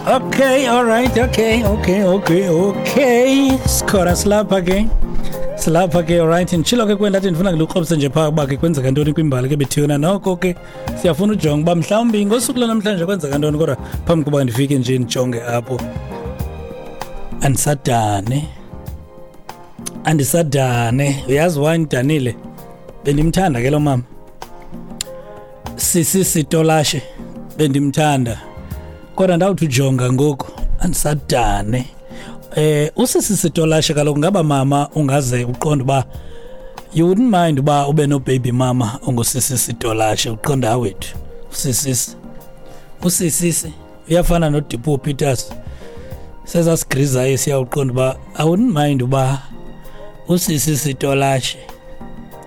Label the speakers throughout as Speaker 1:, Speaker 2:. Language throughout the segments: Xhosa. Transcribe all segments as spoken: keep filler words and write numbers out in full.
Speaker 1: Okay, all right, okay, okay, okay, okay. Sikhona silapha ke. Silapha ke, all right. Nditshilo ke kwendathi ndifuna ngilukrobise nje phaa uba ke kwenzeka ntoni kwimbali ke bethuna. Noko ke siyafuna ujonga uba mhlawumbi ngosuku lwanamhlanje kwenzeka ntoni, kodwa phambi koba ndifike nje ndijonge apho. Andisadane. Andisadane. Uyazi why ndidanile? Bendimthanda ke lo mama. Sisi Sitolashe bendimthanda. Kodwa ndawuthi ujonga ngoku andisadane. Eh usisi Sitolashe kaloku ngaba mama ungaze uqonde uba you wouldn't mind uba ube no baby mama ongusisi Sitolashe, uqonda awethu. Usisi usisi uyafana noDipo Peters. Sezasigrizayo siyawuqonda uba I wouldn't mind uba usisi Sitolashe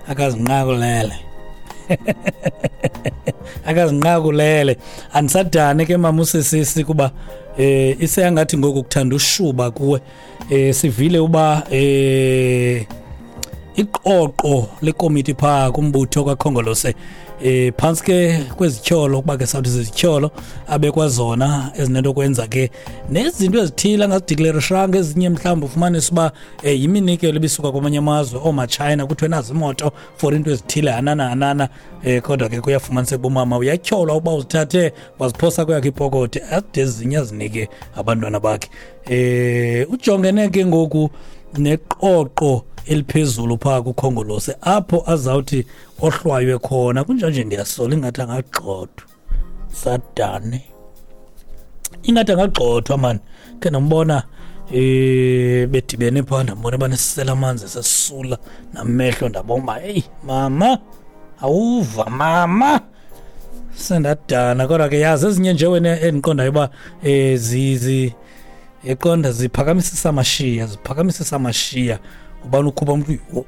Speaker 1: akazinqakulele. Akazinqakulele. Andisadane ke mama usisisi kuba eh iseyangathi ngoku kuthanda ushuba kuwe. Eh sivile uba eh iqoqo lekomiti pha kumbutho kaKhongolose eh phansi ke kwezityholo, kuba ke sawuthi zizityholo abekwa zona ezinento kwenza ke nezinto ezithile angazideclareshanga, ezinye mhlawumbi ufumanise uba eh, yiminikelo ebisuka kwamanye amazwe oomaChina, kuthiwe nazi imoto for into ezithile hanana hanana. Eh kodwa ke kuyafumaniseka uba umama uyatyholwa uba uzithathe waziphosa kweyakhe ipokothi, ade ezinye azinike abantwana bakhe. Eh ujongene ke ngoku neqoqo eliphezulu phaa kuKhongolose apho azawuthi ohlwaywe khona. Kunjanje ndiyasola ingathi angagxothwa. Sadane ingathi angagxothwa mani. Ke ndambona eh bedibene phaa, ndambona banesisela amanzi esesula namehlo, ndabona uba heyi mama awuva mama, sendadana. Kodwa ke yazi ezinye nje wena endiqondayo uba eh zizi eqonda ziphakamisisa amashiya, ziphakamisisa amashiya. Ubani ukhupha umuntu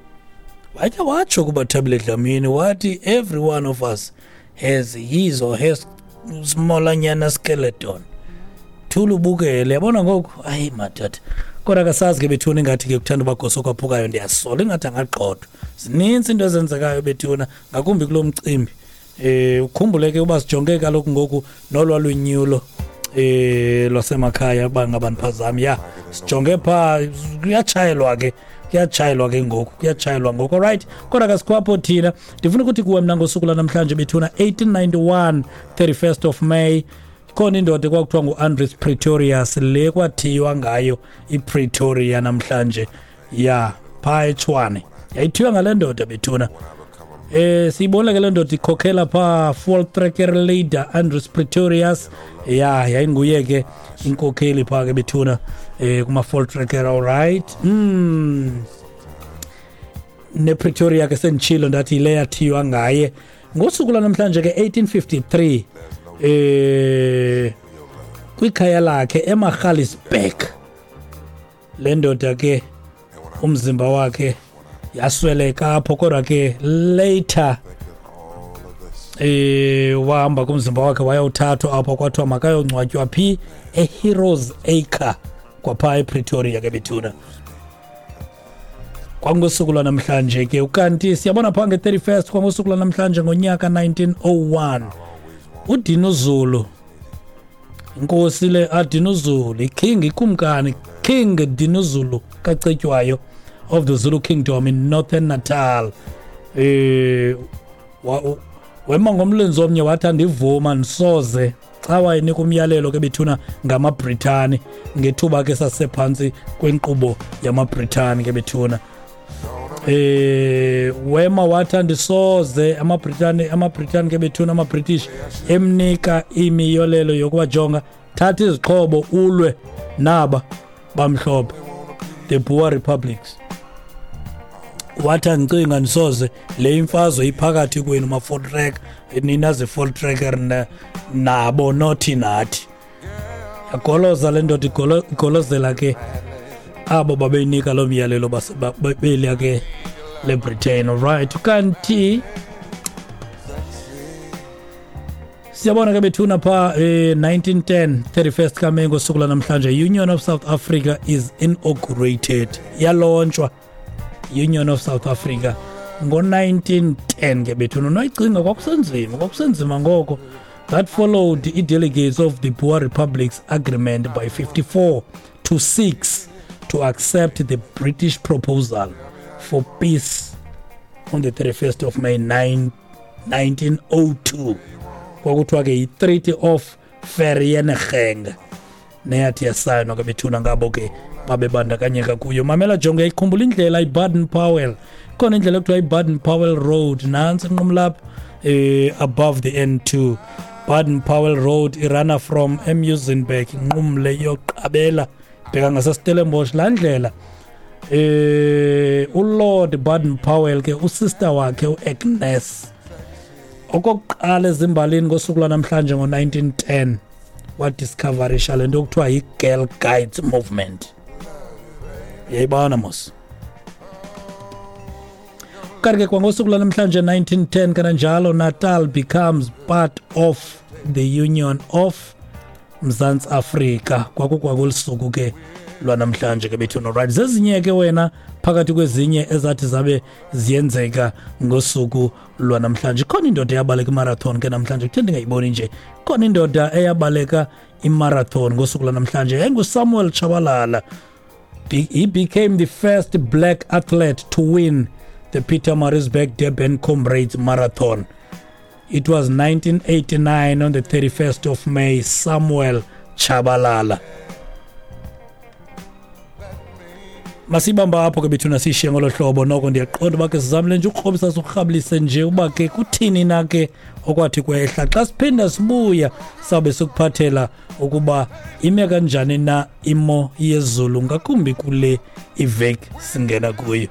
Speaker 1: wathi watsho kuba Thabile Dlamini wathi every one of us has his or her smallanyana skeleton. Thula ubukele, yabona ngoku hayi madoda. Kodwa akasazi ke bethuna ingathi ke kuthanda ubagoso kwaphukayo, ndiyasola ingathi angagxothwa. Zininzi into ezenzekayo bethuna, ngakumbi kulo mcimbi. Eh ukhumbule ke uba sijonge kaloku ngoku nolwalunyulo eh lwasemakhaya uba ngabantu ya sijonge pha kuyatshayelwa ke kuyatshayelwa ke ngoku kuyatshayelwa ngoku. Alright, kodwa ke sikhwapho thina ndifuna ukuthi kuwe mna ngosuku lanamhlanje bethuna eighteen ninety-one thirty-first of May khona indoda kwakuthiwa nguAndries Pretorius le kwathiywa ngayo iPretoria namhlanje ya pha eTshwane, yayithiywa ngale ndoda bethuna. Eh siyibona ke le ndoda ikhokhela pha Voortrekker leader Andries Pretorius, ya yayinguye ke inkokheli pha ke bethuna eh kuma Voortrekker. All right, mm ne Pretoria ke senditshilo ndathi le yathiywa ngaye ngosuku lwanamhlanje ke eighteen fifty-three eh kwikhaya lakhe eMagaliesburg le ndoda ke umzimba wakhe yasweleka apho, kodwa ke later eh wahamba kumzimba wakhe wayawuthathwa apho kwathiwa makayongcwatywa phi eHeroes Acre kwapha ePretoria ke bethuna kwangosuku lwanamhlanje ke. Ukanti siyabona pha nge-thirty-first kwangosuku lwanamhlanje ngonyaka nineteen oh one uDinuzulu, inkosi le aDinuzulu, iking, ikumkani King Dinuzulu kaCetywayo of the Zulu Kingdom in Northern Natal, eh wema ngomlenze omnye wathi andivuma ndisoze xa wayenika umyalelo ke bethuna ngamaBritani ngethuba ke sasephantsi kwenkqubo yamaBritani ke bethuna. Eh wema wathi andisoze amaBritani amaBritani ke bethuna amaBritish emnika imiyolelo yokubajonga thatha izixhobo ulwe naba bamhlophe the Boer Republics. Wathi andicinga ndisoze le imfazwe iphakathi kwenu ma-Voortrekker nina ze-Voortrekker nabo nothi nathi. Yagoloza le ndoda igolozela ke abo babeyinika loo myalelo beliya ke leBritain. Alright, kanti siyabona ke bethuna pha eh, nineteen ten thirty-first kaMeyi ngosuku lwanamhlanje Union of South Africa is inaugurated. Yalontshwa Union of South Africa ngo nineteen ten ke bethuna. Noyicinga kwakusenzima kwakusenzima ngoko That followed the delegates of the Boer Republic's agreement by fifty-four to six to accept the British proposal for peace on the thirty-first of May nineteen oh two. Kwakuthiwa ke yi-Treaty of Vereeniging neyathi yasayinwa ke bethuna ngabo ke babebandakanyeka kuyo. Mamela jonge, ikhumbula indlela iBaden Powell, khona indlela ekuthiwa iBaden Powell Road, nantsi inqumlapha eh above the N two. Baden Powell Road irana from eMuizenberg inqumle iyoqabela bheka ngaseStellenbosch. Laa ndlela eh uLord Baden Powell ke usister wakhe uAgnes okokuqala ezimbalini ngosuku lwanamhlanje ngo nineteen ten wadiscoverisha le nto kuthiwa yi-Girl Guides Movement. Uyayibona mos. Kanti ke kwangosuku lwanamhlanje nineteen ten kananjalo Natal becomes part of the Union of Mzantsi Afrika. Kwakukwakulisuku ke lwanamhlanje ke bethuna. Right, zezinye ke wena phakathi kwezinye ezathi zabe ziyenzeka ngosuku lwanamhlanje. Khona indoda eyabaleka imarathon ke namhlanje, kuthe ndingayiboni nje. Khona indoda eyabaleka imarathon ngosuku lwanamhlanje enguSamuel Tshabalala. He became the first black athlete to win the Pietermaritzburg Durban Comrades Marathon. It was nineteen eighty-nine on the thirty-first of May, Samuel Tshabalala. Masibamba apho ke bethuna sishiye ngolo hlobo. Noko ndiyaqonda uba ke sizamile nje ukrobisa sikurhabulise nje uba ke kuthini na ke okwathi kwehla. Xa siphinda sibuya sawube sikuphathela ukuba ime kanjani na imo yezulu ngakumbi kule iveki singena kuyo.